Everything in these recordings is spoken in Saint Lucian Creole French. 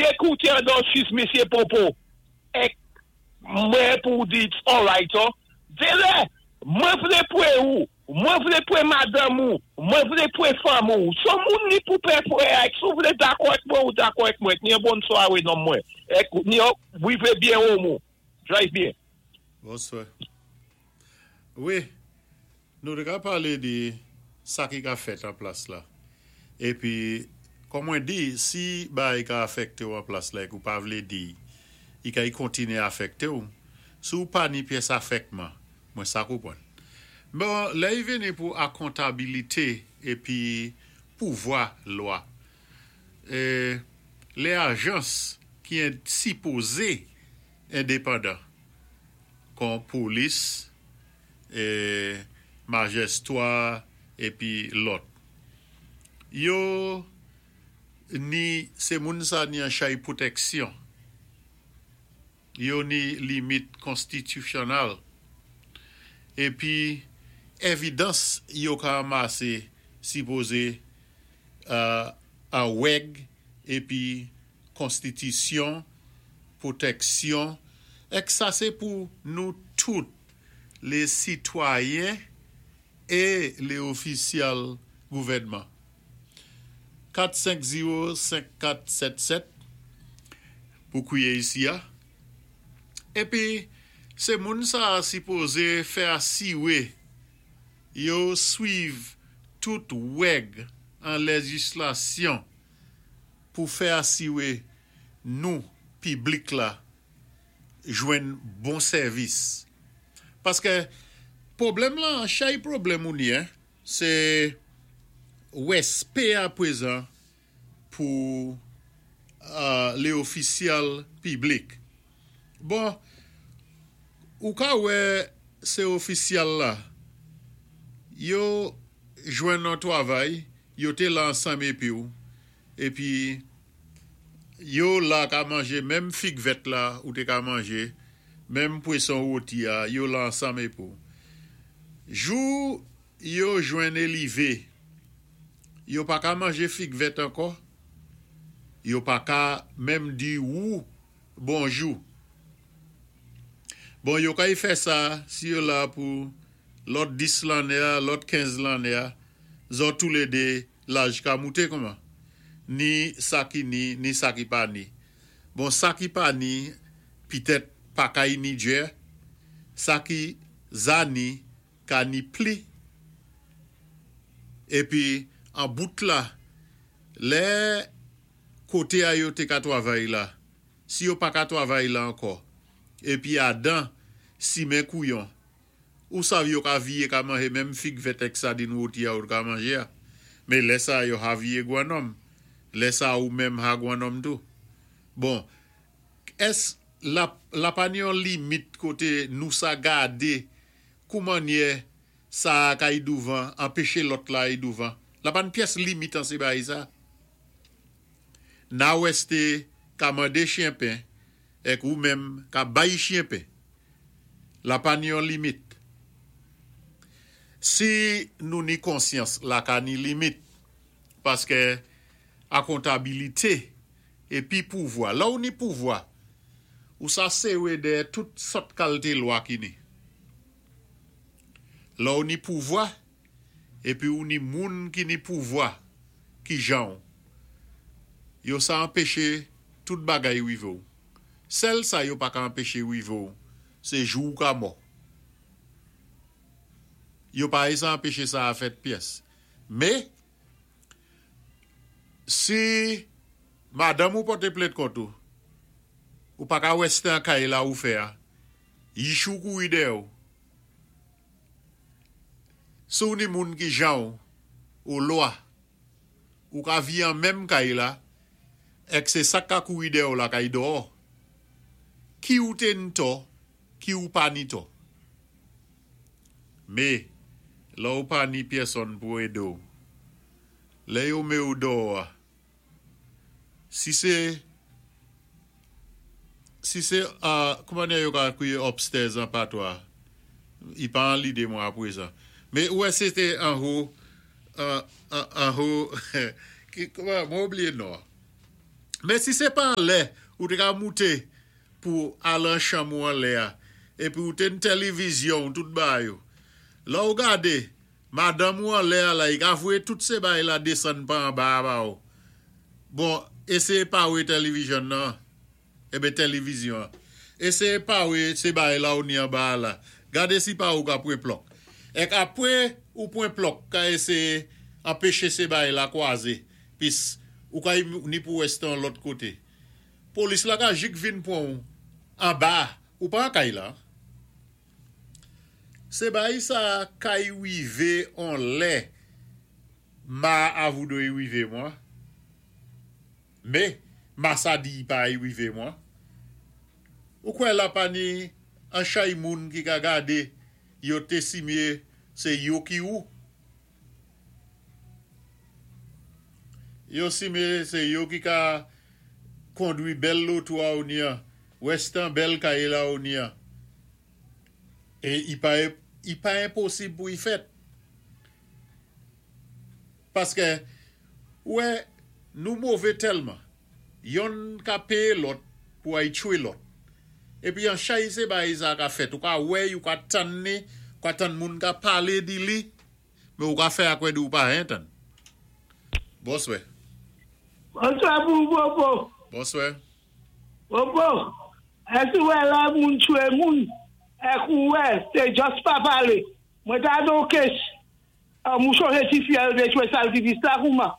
Ekoute Adolphus, Misyé Popo, èk mwen pou di it's alright, oh. Délè, mwen vlé pwé ou, mwen vlé pwé madanm ou, mwen vlé pwé fanm ou. So moun ni pou pè fwè, èk si ou vlé dakò èk mwen ou dakò èk mwen, ni yon bonn swawé non mwen. Èk ni yon wivé byen ou mou. Drive byen. Bonswa. Wi, nou té ka palé di sa ki ka fèt an plas la. Épi, kòm mwen di, si bagay ka afèkté ou an plas la èk ou pa vlé di, i ka i kontiné afèkté ou. Si ou pa ni pyès afèkman, mwen sa konpwann. Bon, lè i vini pou akontabilité épi pouvwa lwa, lè ajans ki sipozé endepandan kon polis, majestwa épi lòt yo ni sé moun sa ni an chay pwotèksyon, yo ni limit konstitisyonal épi évidans yo ka anmasé sipozé an wèg épi konstitisyon, pwotèksyon, èk sa sé pou nou tout lé sitwayen é lé ofisyal gouvèdman. 4 5 0 5 4 7 7 pou kwiye isi a. Épi sé moun sa a sipozé fè asiwé yo swiv tout wèg an lèjislasyon pou fè asiwé nou piblik la jwenn bon sèvis. Paskè pwoblèm lan, chay pwoblèm ou ni sé wèspé a pwézan pou lé ofisyal piblik. Bon, ou ka wè sé ofisyal la, yo jwenn on twavay, yo té la ansanm épi ou, épi yo la ka manjé menm fig vèt la ou té ka manjé, menm pwéson woti a, yo la ansanm épi ou. Jou yo jwenn élivé, yo pa ka manjé fig vèt ankò, yo pa ka menm di wou bonjou. Bon, yo kay fè sa si yo la pou lòt 10 lanné a, lòt 15 lanné a, zò toulédé laj ka mouté kouman? Ni sa ki ni, ni sa ki pa ni. Bon, sa ki pa ni, pitèt pa kay ni djè, sa ki za ni ka ni pli. Épi an bout la, lè koté a yo té ka twavay la, si yo pa ka twavay la ankò, épi adan simen kouyon, ou sav yo ka viyé ka manje menm fig vèt èk sadin woti a ou t ka manje a. Men lè sa yo ha viyé gwannòm. Lè sa ou menm ha gwannòm tou. Bon, ès la la pa ni yon limit koté nou sa gadé koumannyè sa a ka y douvan anpeché lòt la y douvan? La pa ni pyès limit an sé bagay sa. Na wèsté ka mandé chyen pen èk ou menm ka bay chyen pen. La pa ni yon limit. Si nou ni konsyans la ka ni limit paskè akontabilité épi pouvwa. Lè ou ni pouvwa, ou sa sewe dèyè tout sòt kalté lwa ki ni. Lè ou ni pouvwa épi ou ni moun ki ni pouvwa ki jan ou, yo sa anpeche tout bagay wive ou. Sèl sa yo pa ka anpeche wive ou, sé jou ou ka mò. Yo pa sa anpeche sa a fèt pyès. Mé, si madanm ou pòté plent kont ou, ou pa ka wèsté an kay la ou fè a, yich ou kouri dèyè ou. Si ou ni moun ki jan ou, ou lwa, ou ka vi an menm kay la, èk sé sa k ka kouri dèyè ou la kay dòò. Ki ou té ni tò, ki ou pa ni tò. Mé, lè ou pa ni pyèsonn pou édé ou, lè yo mé ou dòò a, si sé si sé koumannyè yo ka kwiye upstairs an patwa, i pa an lidé mwen apwézan. Mé ou wè sé té anho anho ki kouman mwen oublié non an. Men si sé pa anlè ou té ka mouté pou al an chanm ou anlè a épi ou té n tèlivizyon'w tout bagay ou. Lè ou gadé madanm ou anlè a la i ka voyé tout sé bagay la desann pa anba a ba ou. Bon, éséyé pawé tèlivizyon nan. Eben tèlivizyon an. Eseye pare se bagay la ou ni anba a la. Gade si pa ou ka pwen plòk. Èk apre ou pwen plòk ka eseye anpeche se bagay la kwaze pis ou ka ni pou wè stan lòt kote. Polis la ka jik vin pwan ou anba a. Ou pa an kay la. Se bagay sa kay wive on lè ma avoudo i wive mwa. Me, masa di pa rive mwa. Ou kwè la pa ni an chay moun ki ka gade yo te simye se yo ki ou? Yo simye se yo ki ka kondwi bèl loto a ou ni an, wèstan bèl kay la ou ni an. E i pa i pa enposib pou i fèt. Paske, ou wè, nou move tèlman, yonn ka peye lòt pou ay tchwe lòt. Epi an chay se bagay sa ka fèt, ou ka wè y, ou ka tann ni, ou ka tann moun ka pale di li, men ou ka fè akwè di ou pa hen tann. Bonswè. Bonswa pou ou Bobo. Bonswè. Bobo, èske ou wè lè moun tchwe moun, èk ou wè se just pa pale. Mwen ta don case Humm ou chonje ti fi a yo te tchwe sal ti vis la kouman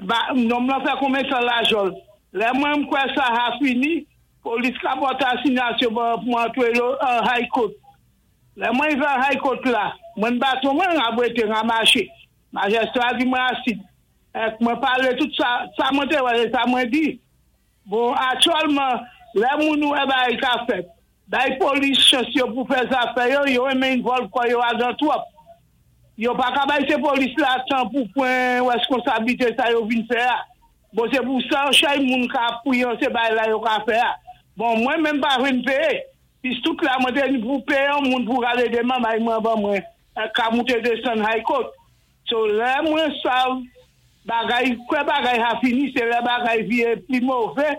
ba nonm lan fè konbyen tan la jòl lè mwen m kwè sa ha fini polis ka pòte asinyasyon pou mwen antre yo an high court lè mwen rive an high court la mwen n baton mwen n rabwete n ramache majèstra di mwen asid ek mwen pale tout sa sa mwen te wè se sa mwen di Bon aktyèlman lè moun wè bagay ka fèt bay polis chans yo pou fè zafè yo yo renmen involve kò yo adan twòp yo paka bay se polis la tan pou pran reskonsablite sa yo vin fè a bon se pou sa chay moun ka pwiyan se bagay la yo ka fè a bon mwen menm pa vin peye pis tout la mwen te ni pou peye yon moun pou rale de mamay mwen ban mwen ka moute desann high court So lè mwen sav bagay kwè bagay ha fini se lè bagay vire pi move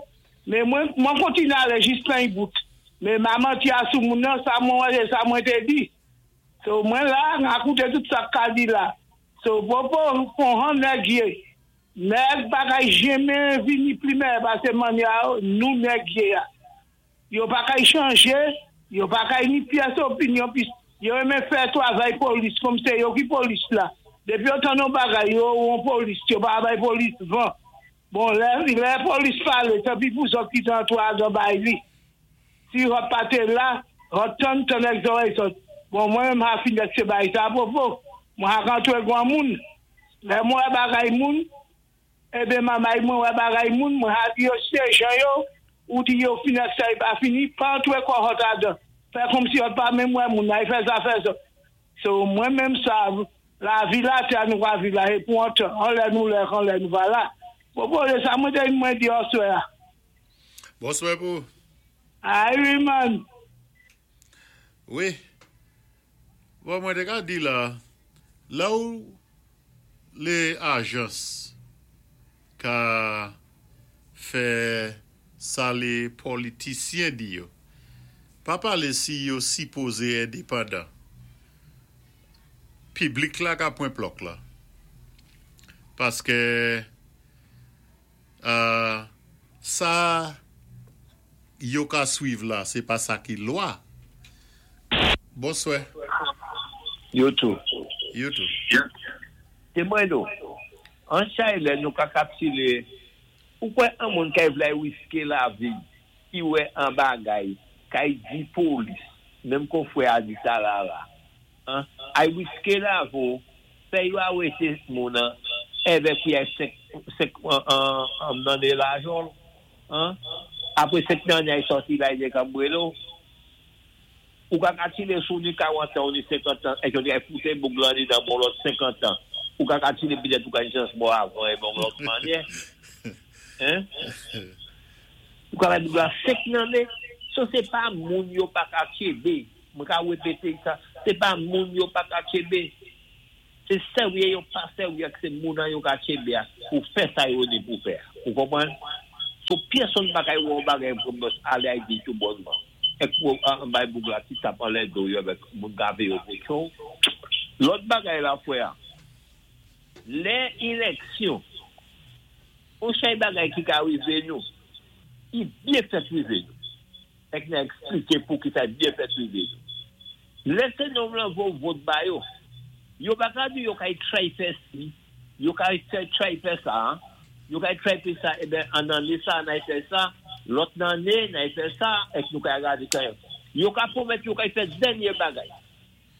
men mwen mwen kontinye ale jis nan y bout men ma manti a sou moun nan sa mwen wè se sa mwen te di so mwen la na koute tout sak ka di la so popo fon han nèg ye nèg bagay jenmen vini pli mèyè pase manya nou nèg ye a. Yo pa kay chanje, yo pa kay ni pyès opinyon pis yo renmen fè twavay polis kòm se yo ki polis la. Depi yo tann yon bagay yo won polis, yo pa bay polis van. Bon lè lè polis pale tanpi pou zòt ki te antre adan bay li. Si hòt pa te la, hòt tann tann èk zòrèy zòt. Bon mwen menm ha fin èk se bay sa pwopo. Mwen ha k antre gwanmoun. Lè mwen wè bagay moun. Eben mamay mwen wè bagay moun mwen ha di yo se jan yo ou di yo fin ak sa yo pa fini pa antre kò hot adan fè komsi hot pa menm wè moun ay fè zafè zòt so mwen menm sa lavi latè a nou ka viv la se pou on tan an lè nou lè kan lè nou pa la pwopoze sa mwen te mwen di aswè a. Bonswè pou. Ay wi man. Wi. Bon mwen te ka di la lè ou Le ajans ka fè sa le politisyen di yo. Pa pale si yo sipoze endepandan. Piblik la ka pwen plòk la. Paske sa yo ka swiv la se pa sa ki lwa. Bonswè. Yo tou. Yo tou. Te mwen nou. An chay lè nou ka kapsile ou kwè an moun kay vlay riske lavi ki wè an bagay kay di polis menm kon frè a di sa rara an ay riske lavi w fè yo arete moun an èvè pou yay 5 5 an nan ne lajan l an apre 5 nan ay sòti bay nèg anbrelo. Ou ka katile si w ni 40 tan ou ni 50 tan èske yo te ka foute boug lan andedan bon lòt 50 tan ou ka katile petèt ou ka gen chans mò avan e bon lòt manyè hein ou ka bay boug la 5 nanne so se pa moun yo pa ka tchebe mwen ka repete sa se pa moun yo pa ka tchebe se serye yo pa serye ak se moun an yo ka tchebe a pou fè sa yo ni pou fè a. Ou konpwann? So pyèsonn pa kay wè yon bagay pou mòs alé ay di tou bònman. Èk pou an bay boug la ti tap anlè do yo avèk moun ka véyé w pou tchon w. Lòt bagay la frè, lè elèksyon, on chay bagay ki ka rivé nou, ki byen fèt rivé nou. Èk nan ekspliké poukisa y byen fèt rivé nou. Lè se nonm lan vo vot ba yo, yo pa ka di yo kay tray fè si, yo kay fè tray fè sa, yo kay tray fè sa, eben an anné sa nay fè sa, lòt nan anné nay fè sa, èk nou kay gade kay. Yo ka pwomèt yo kay fè dènyé bagay.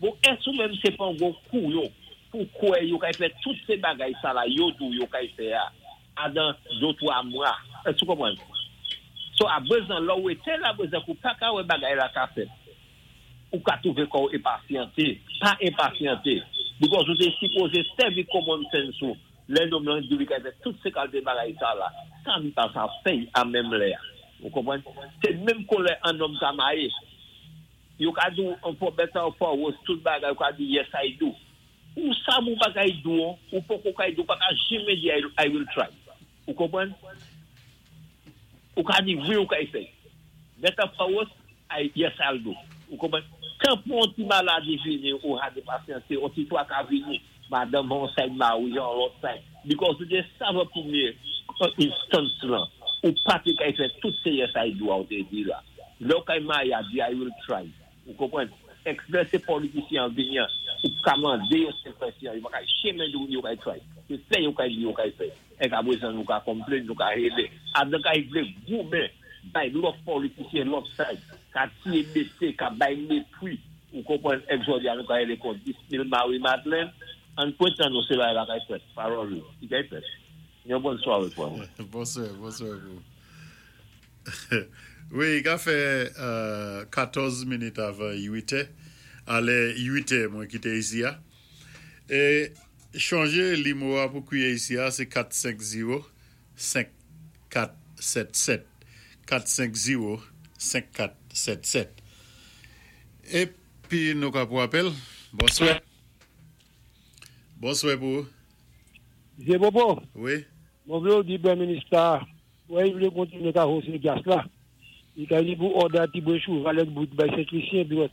Bon èske ou menm sé pa yon gwo kouyon pou kwè yo kay fè tout sé bagay sa la yo di w yo kay fè a adan do 3 mwa? Èske ou konprann? So aprezan lè w wete l aprezan ke w pa ka wè bagay la ka fèt. Ou ka twouve kò w enpasyante. Pa enpasyante. Because ou te sipoze sèvi common sense ou lè nonm lan di li ka fè tout se kalte bagay sa la. Sa li pa sa fè a menm lè a. Ou konprann? Se menm kon lè an nonm ka maye. Yo ka di w an for better or for worse tout bagay ou ka di yes I do. Ou sa ou pa kay do an, ou poko kay do, ou pa ka janmen di I will try. Ou konprann? Ou ka di wi ou kay fè. Better for worse, I, yes I'll do. Ou konprann? Tan pou yon ti maladi vini ou ha de pasyante, yon ti twaka vini, madanm an side mari an lòt side. Because ou te save premye instance lan, ou pa te kay fè tout se yes I do a ou te di la. Lè ou kay marye a di I will try. Ou konprann? Èk lè se politisyen an vini an, ou ka mande yo se kwèsyon, yo pa kay chemen di yo kay try. Se fè yo kay di yo kay fè. Èk aprezan nou ka complain, nou ka rélé. Adan kay vlé goumen bay lòt politisyen lòt side, ka tiye mété, ka bay mépwi. Ou konprann? Èk jòdi a nou ka rélé kon 10 mil Marie Madeleine, ann pwentan nou se bagay la kay fèt. Paròl yo, ki kay fèt. Yon bòn sware frè mwen. Bonswa, bonswa pou ou. Wi, i ka fè 14 minit avan 8 è, alè 8 è mwen kite isi a. E chonje limo a pou kwiye isi a se 450 5477. 450 5477. Epi nou ka pou apèl. Bonswa. Bonswa pou ou. Vye Popo. Wi. Mwen vle ou di Premye Minis la Wè li vle kontinye ka hose gas la. Li ka li pou òda ti bwe chouval ak bout bay Sent Lisi epi wè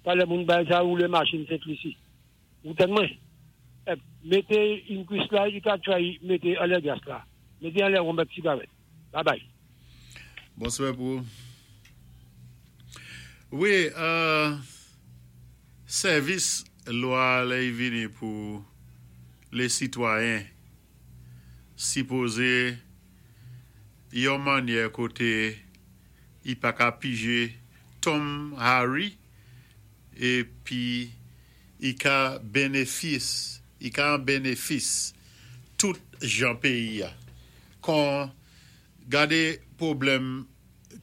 talè moun bay sa woule machin Sent Lisi. Ou tann mwen? Ep mete yn kwis la li ka try mete anlè gas la. Mete anlè wonm ak sigarèt. Babay. Bonswa pou ou. Wi, sèvis lwa lè y vini pou le sitwayen. Sipoze yon manyè kote i pa ka pije Tom Harry epi i ka benefis i ka an benefis tout jan peyi a kon gade pwoblèm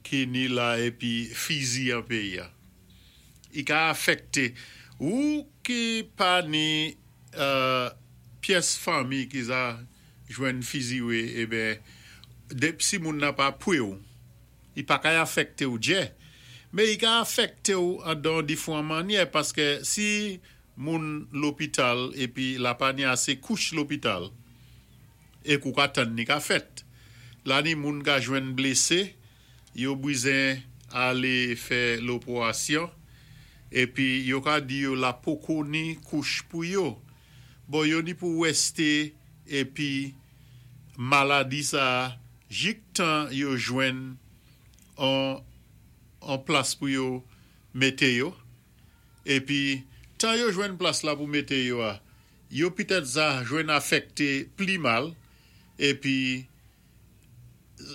ki ni la epi fizi an peyi a i ka afekte ou ki pa ni pyès fanmi ki za jwenn fiziwe eben dep si moun nan pa pwew li pa kay afektew djè men i ka afektew andan difwan manyè paske si moun lopital epi la pa ni ase kouch lopital e kou ka tann ni ka fèt la ni moun ka jwenn blese Yo bwizen ale fè lopoasyon epi yo ka di yo la poko ni kouch pou yo. Bon yo ni pou weste epi maladi sa jik tan yo jwenn on on plas pou yo mete yo epi tan yo jwenn plas la pou mete yo a yo pitèt sa jwenn afèkte pli mal epi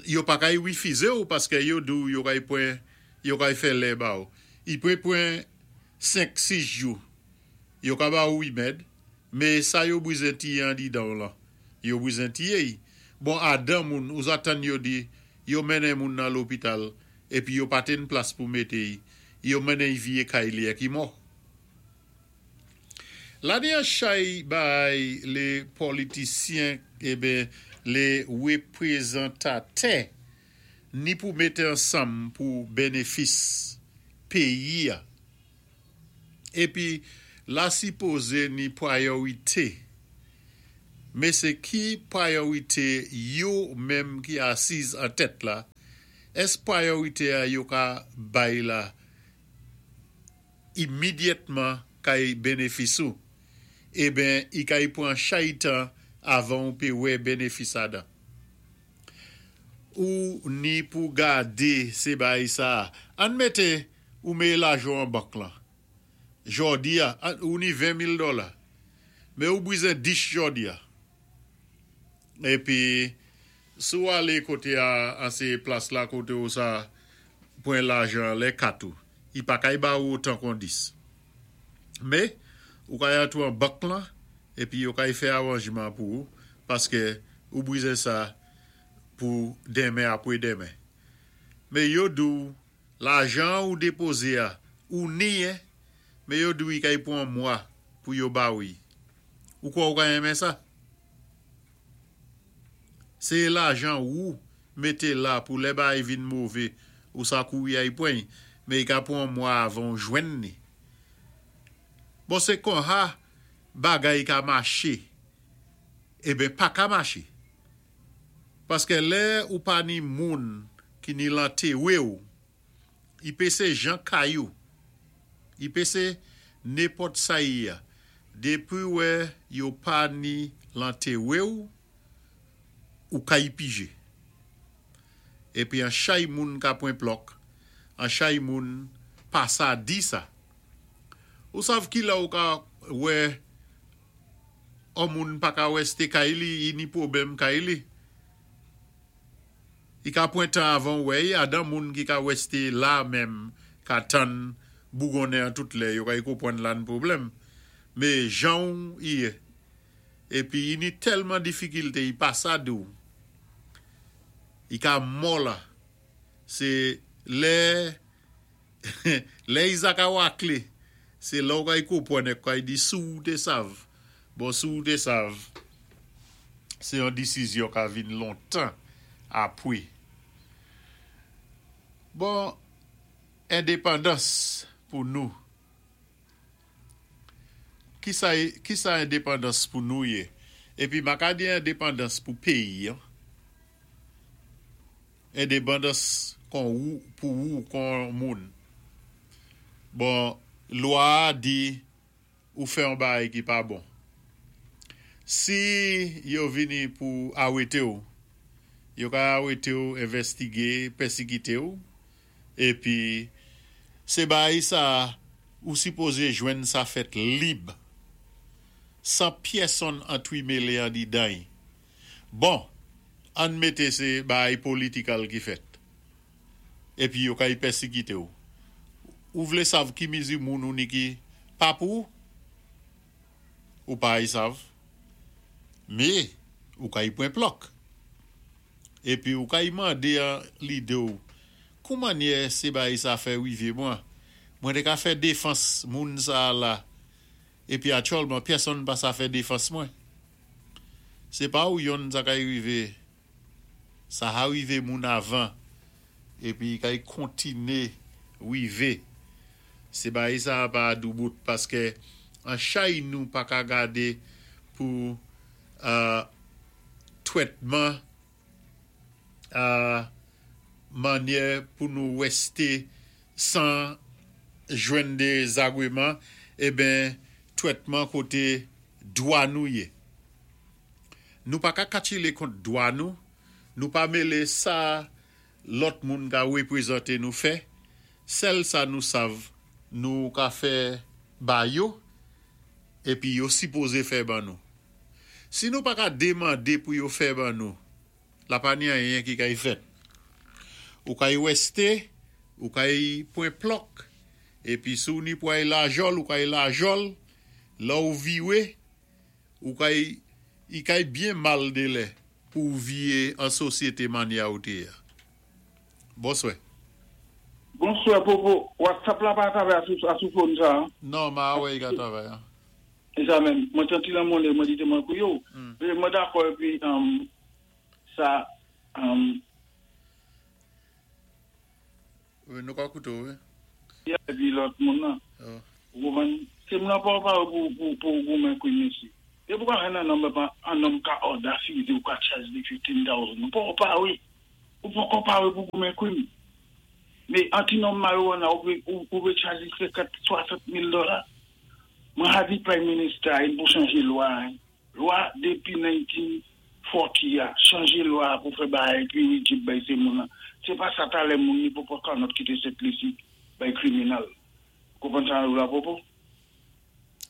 Yo pa kay refize w paske yo di w yo kay pwen yo kay fè lè ba w. I pre pwen 5, 6 jou. Yo ka ba ou remèd, me sa yo brizen tiye andidan w lan, yo brizen tiye y. Bon adan moun ou zatann yo di yo mennen moun nan lopital epi yo pa te n plas pou mete y, yo mennen y viye kay li ek y mò. Lane an chay bay le politisyen eben le reprezantatè ni pou mete ansanm pou benefis peyi a. Epi la sipoze ni priorite. Mé sé ki priorité yo menm ki asiz an tèt la, èske priorité a yo ka bay la imedyatman kay benefis ou? Eben i kay pwan chay tan avan ou pé wè benefis adan. Ou ni pou gadé sé bay sa. Ann mété ou méyé lajan an bank lan. Jòdi a, ou ni 20 mil dòla. Men ou bwizen 10 jòdi a. Épi, si ou alé koté a an sé plas la koté ou sa pwan lajan lè kat ou, i pa kay ba ou otan kon 10. Mé, ou kay antou an bank lan, épi yo kay fè awanjman pou ou, paské ou bwizen sa pou denmen apwé denmen. Mé yo di ou Lajan ou depoze a, ou ni en, men yo di w i kay pwan mwa pou yo ba ou i. Ou kwè ou ka renmen sa? Se lajan wou mete la pou lè bagay vin move, ou sa kouri ay pwan i, men i ka pwan mwa avan ou jwenn ni. Bon se konha bagay ka mache, eben pa ka mache. Paske lè ou pa ni moun ki ni lan tewe ou, i pese jan kay ou, i pese nenpòt sa i a, depi wè yo pa ni lan tewe ou, ou kay pije. Epi an chay moun ka pwen plòk, an chay moun pa sa di sa. Ou sav ki lè ou ka wè On moun pa ka wèste kay li, i ni pwobèm kay li. I ka pwan tan avan ou wè i, adan moun ki ka wèste la menm ka tann bougonnen an tout lè, yo kay konpwann la n pwoblèm. Mé jan ou i yé. Épi i ni tèlman difikilte i pa sa di ou. I ka mò la. Sé lè Lè Isaac a wakle, se la ou kay konpwann ek kay di si ou te sav. Bon si ou te sav, se yon disizyon ka vin lontan apwe. Bon, endepandans pou nou. Kisa kisa endepandans pou nou ye? Epi ma ka di endepandans pou peyi an. Endepandans kon ou pou ou kon moun. Bon, lwa a di ou fè yon bagay ki pa bon. Si yo vini pou awete ou, yo ka awete ou, envèstige, pèsikite ou, epi se bagay sa a ou sipoze jwenn sa fèt lib, san pyèsonn antwimele andidan y. Bon, ann mete se bagay political ki fèt. Epi yo kay pèsikite w. Ou vle sav ki mizi moun ou ni ki pa pou ou? Ou pa ay sav. Me, ou kay pwen plòk. Epi ou kay mande an lide w, kou mannyè se bagay sa fè rive mwen? Mwen te ka fè defans moun sa a la, epi atyòlman pyèsonn pa sa fè defans mwen. Se pa ou yonn sa kay rive, sa ha rive moun avan epi kay kontine rive. Se bagay sa a pa doubout paske an chay nou pa ka gade pou twètman a mannyè pou nou weste san jwenn de zagweman eben twètman kote dwa nou ye. Nou pa ka katchile kont dwa nou, nou pa mele sa lòt moun ka reprezante nou fè, sèl sa nou sav nou ka fè ba yo epi yo sipoze fè ban nou. Si nou pa ka demande pou yo fè ban nou, la pa ni anyen ki kay fèt. Ou kay weste, ou kay pwen plòk, epi si w ni pou ay lajòl, ou kay lajòl, lè w viwe, ou kay, i kay byen mal de lè pou w viye an sosyete manya ou te ye a. Bonswè. Bonswè Popo, WhatsApp la pa travay a sou phone sa a? Non, ma wè i ka travay an. E sa menm, mwen santi lan monnen mwen di te mwen kouye w. Mwen dakò epi sa. Wi nou ka koute w wi. Ya epi lòt moun nan. Ou konprann? Se m nan pa w pa w pou w goumen kou mesye. Dépi ou ka jwenn an nonm an nonm ka order fizi ou ka charge li 15,000. Ou poko pawé. Ou poko pawé pou goumen krim. Mé an ti nonm marijuana ou vlé ou vlé charge li 50, 60 mil dola. Mwen ha di prime minister a pou chanjé lwa a. Lwa dépi 1940 a, chanjé lwa a pou fè bagay pi rigid bay sé moun an. Sé pa sa talè moun ni pou pran kannòt kité Sent Lisi bay kriminal. Konprann sa la Popo?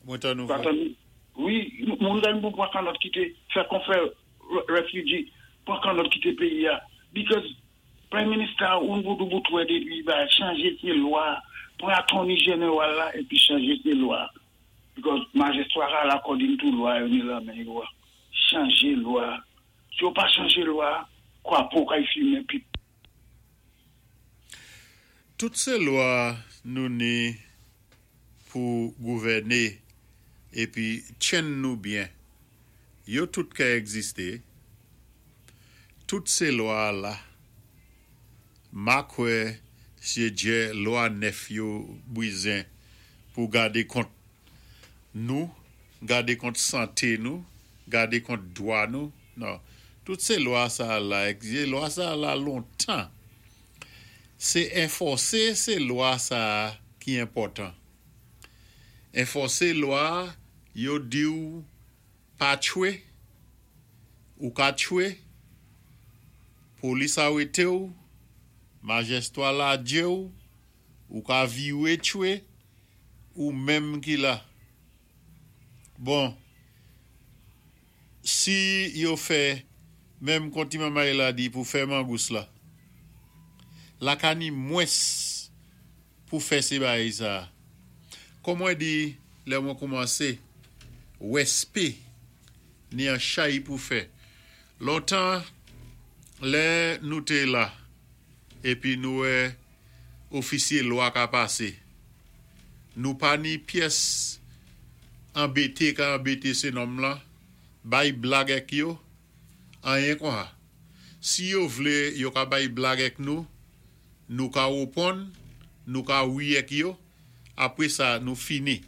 Mwen tann ou Pa frè. tann wi, moun gen pou pran kannòt kité fè kon fè refugee pran kannòt kité péyi a because prime minister ou bout bout wè dépi ba chanjé sé lwa, pran attorney general la épi chanjé sé lwa because majistra la according to lwa yo ni lan men yo a. Chanjé lwa. Si yo pa chanjé lwa, kwapo kay fimen pi Tout sé lwa nou ni pou gouvèné épi tjenn nou byen. Yo tout ka égzisté. Tout sé lwa la. Ma kwè sé djè lwa nèf yo bwizen pou gadé kont nou, gadé kont santé nou, gadé kont dwa nou. Non. Tout sé lwa sa la égzisté. Lwa sa la lontan. Sé anfòsé sé lwa sa ki enpòtan. Anfòsé lwa yo di ou pa tchwé, ou ka tchwé, polis arété ou, majistra ladjé ou, ou ka viwé tchwé, ou menm ki la. Bon, si yo fè menm kon ti manmay la di pou fè mangous la, la ka ni mwens pou fè sé bagay sa. Kon mwen di lè mwen koumansé, wèspé ni an chay pou fè. Lontan lè nou té la épi nou wè ofisyé lwa ka pasé, nou pa ni pyès anbété ka anbété sé nonm lan, bay blag èk yo, anyen konsa. Si yo vlé yo ka bay blag èk nou, nou ka wouponn, nou ka wi èk yo, apré sa nou fini.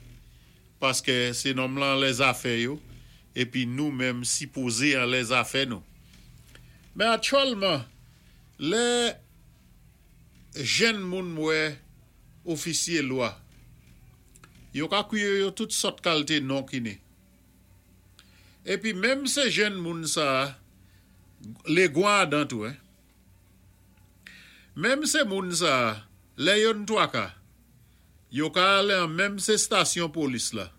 Paské sé nonm lan anlè zafè yo, épi nou menm sipozé anlè zafè nou. Men aktyèlman, lè jenn moun wè ofisyé lwa, yo ka kwiye yo tout sòt kalté non ki ni. Épi menm sé jenn moun sa, legwan adan tou hein. Menm sé moun sa, lè yo n twaka, yo ka alé an menm sé stasyon polis la.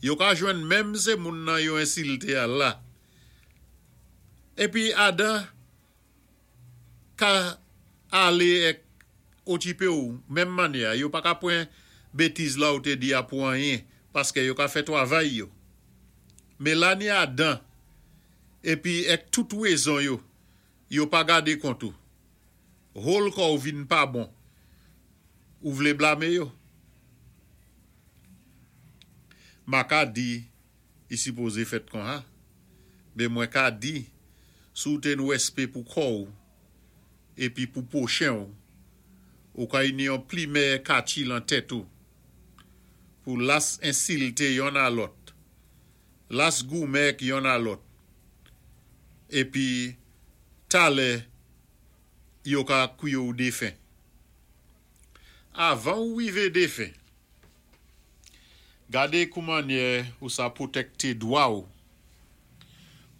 Yo ka jwenn menm sé moun nan yo ensilté a la. Épi adan ka alé èk okipé ou menm mannyè, yo pa ka pran bétiz la ou té di a pou anyen paské yo ka fè twavay yo. Mé la ni adan épi èk tout wézon yo, yo pa gadé kont ou. Whole kò ou vin pa bon. Ou vlé blamé yo. Ma ka di i sipozé fèt konsa. Mé mwen ka di si ou té n wèspé pou kò ou épi pou pwochen ou, ou ka ni yon pli mèyè katchi lan tèt ou pou las ensilté yonn a lòt, las goumen èk yonn a lòt, épi talè yo ka kwiye ou défen. Avan ou wivé défen, gadé kou mannyè ou sa pwotèkté dwa ou,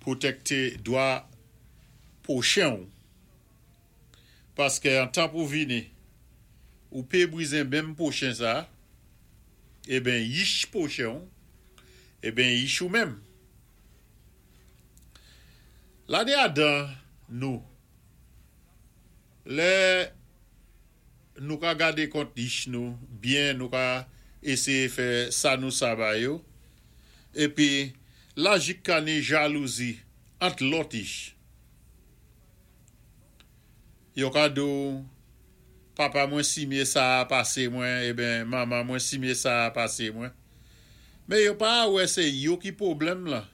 pwotèkté dwa pwochen ou, paské an tan pou vini, ou pé bwizen menm pwochen sa, eben yich pwochen ou, eben yich ou menm. La ni adan nou, lè nou ka gadé kont yich nou byen, nou ka éséyé fè sa nou sa ba yo, épi la jik ka ni jalouzi ant lòt yich. Yo ka di ou, papa mwen simyé sa a pasé mwen, eben manman mwen simyé sa a pasé mwen. Mé yo pa wè sé yo ki pwoblèm lan.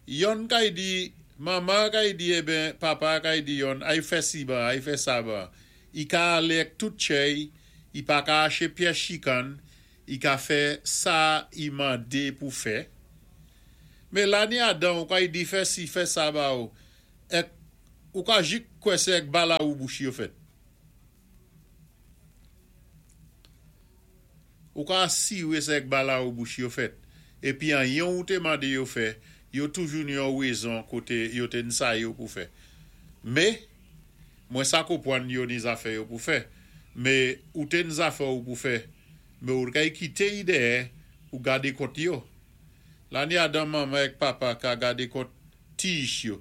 Yonn kay di, manman kay di eben papa kay di yonn ay fè si ban, ay fè sa ban. I ka alé èk tout tchèy, i pa ka aché pyès chikann, i ka fè sa i mandé pou fè. Mé la ni adan ou kay di fè si, fè sa ba ou, èk ou ka jik kwè sé èk bala ou bouch yo fèt. Ou ka asiwé sé èk bala ou bouch yo fèt. Épi anyen ou té mandé yo fè, yo toujou ni yon wézon koté yo té ni sa yo pou fè. Mé, mwen sa konpwann yo ni zafè yo pou fè. Mé ou té ni zafè ou pou fè. Mé ou kay kité yi dèyè pou gadé kont yo. La ni adan manman èk papa ka gadé kont ti ich yo.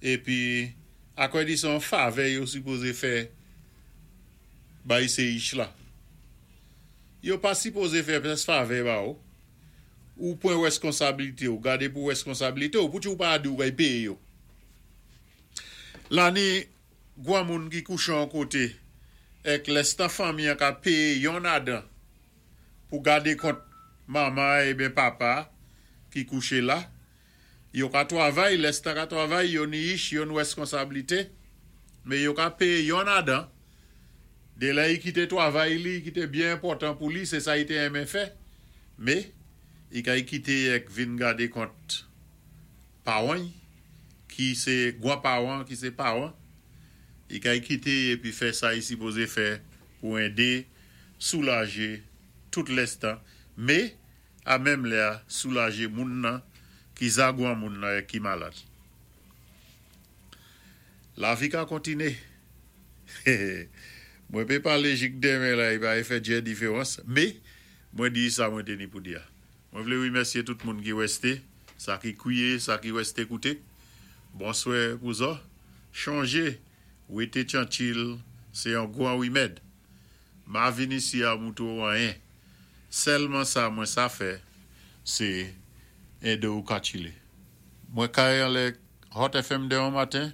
Épi, akwè di sé yon favè yo sipozé fè bay sé ich la. Yo pa sipozé fè pyès favè ba ou. Ou pwan wèskonsabilité ou, gadé pou wèskonsabilité ou, pou ti ou pa di ou kay péyé yo. La ni gwanmoun ki kouché an koté, èk lèstan fanmi an ka péyé yon adan pou gadé kont manman ébyen papa ki kouché la, yo ka twavay, lèstan ka twavay, yo ni ich, yo ni wèskonsabilité, mé yo ka péyé yon adan, dé lè i kité twavay li, ki té byen enpòtan pou li, sé sa i té enmen fè, mé i kay kité èk vin gadé kont pawan ki sé gwan pawan, ki sé pawan, i kay kité épi fè sa i sipozé fè pou édé soulajé tout lèstan, mé a menm lè a soulajé moun nan ki za gwanmoun nan ki malad. Lavi ka kontiné. Mwen pé palé jik denmen la, i pa fè djè diféwans, mé mwen di sa mwen té ni pou di a. Mwen vlé wimèsyé tout moun ki wèsté, sa ki kwiyé, sa ki wèsté kouté. Bonswè pou zo. Chonjé, wété tyanchil, sé yon gwan wimèd. Ma vin isi a mouto anyen. Sèlman sa mwen sa fè, sé édé ou ka chilé. Mwen kay anlè Hot FM denmen maten,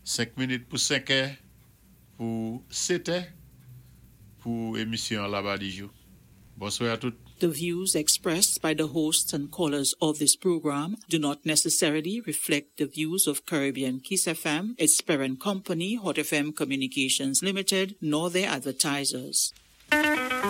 5 minit pou 5 è, pou 7 è, pou émisyon Laba Dijou. Bonswè a tout. The views expressed by the hosts and callers of this program do not necessarily reflect the views of Caribbean Kiss FM, its parent company, Hot FM Communications Limited, nor their advertisers.